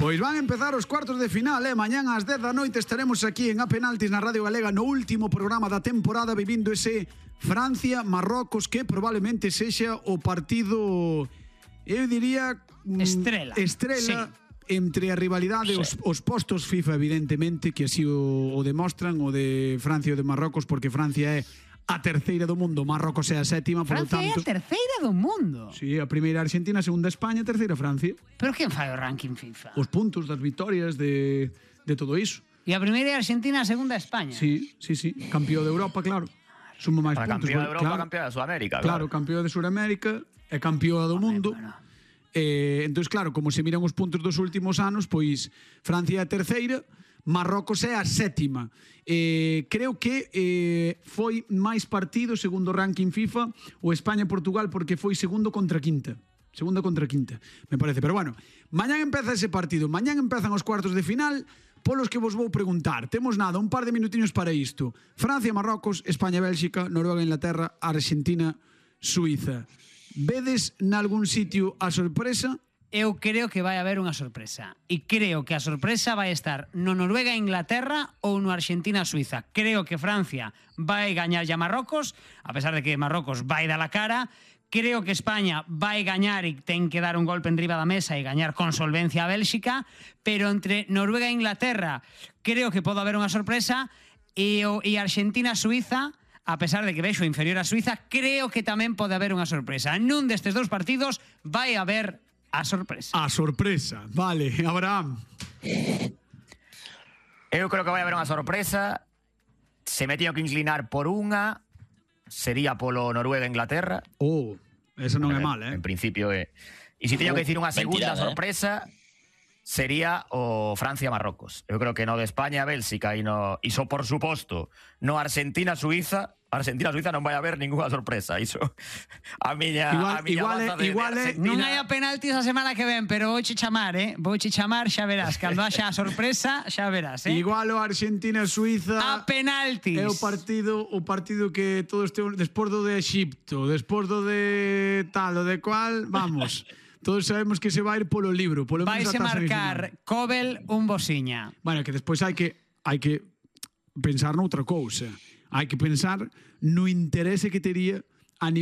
Pois van empezar os cuartos de final, mañán ás 10 da noite estaremos aquí en A Penaltis na Radio Galega no último programa da temporada vivindo ese Francia-Marrocos que probablemente sexa o partido, eu diría... Estrela. Sí. Entre a rivalidade os postos FIFA, evidentemente, que así o demostran, o de Francia e o de Marrocos, porque Francia é a terceira do mundo, Marrocos é a sétima, por lo tanto... Francia é a terceira do mundo. Sí, a primeira Argentina, a segunda España, a terceira Francia. Pero quen fai o ranking FIFA? Os puntos das vitorias de todo iso. E a primeira é Argentina, a segunda España. Sí. Campeón de Europa, claro. Sumo máis puntos. Campeón de Europa, claro. campeón de Sudamérica. Claro, campeón de Sudamérica e campeón do mundo. Entón, claro, como se miran os puntos dos últimos anos, pois Francia é a terceira, Marrocos é a sétima. Creo que foi máis partido, segundo o ranking FIFA, o España-Portugal, porque foi segundo contra quinta. Segunda contra quinta, me parece. Pero bueno, mañán empeza ese partido. Mañán empezan os cuartos de final, polos que vos vou preguntar. Temos nada, un par de minutiños para isto. Francia-Marrocos, España-Bélxica, Noruega-Inglaterra, Argentina-Suiza. Vedes nalgún sitio a sorpresa? Eu creo que vai haber unha sorpresa. E creo que a sorpresa vai estar no Noruega-Inglaterra ou no Argentina-Suiza. Creo que Francia vai gañar a Marrocos, a pesar de que Marrocos vai dar a cara. Creo que España vai gañar e ten que dar un golpe en riba da mesa e gañar con solvencia a Bélxica, pero entre Noruega e Inglaterra creo que pode haber unha sorpresa e Argentina-Suiza, a pesar de que vexo inferior a Suiza, creo que tamén pode haber unha sorpresa. Nun destes dous partidos vai haber a sorpresa. A sorpresa, vale. Abraham. Eu creo que vai haber unha sorpresa. Se me teño que inclinar por unha, sería polo Noruega-Inglaterra. Esa non é mal, En principio é. E se teño que dicir unha segunda sorpresa, sería o Francia-Marrocos. Eu creo que no de España-Bélxica e iso, por suposto, no Argentina-Suiza, Argentina-Suiza non vai haber ninguna sorpresa. Iso, a miña baza de Argentina. Non hai a penaltis a semana que ven, pero vouche chamar, vouche chamar, xa verás. Cando haxa a sorpresa, xa verás, Igual o Argentina-Suiza a penaltis. É o partido que todos temos despois do de Egipto, despois do de tal, o de cual, vamos. Todos sabemos que se vai ir polo libro. Vaise marcar Kobel un bosiña. Bueno, que despois hai que pensar noutra cousa. Hai que pensar no interese que tería a nivel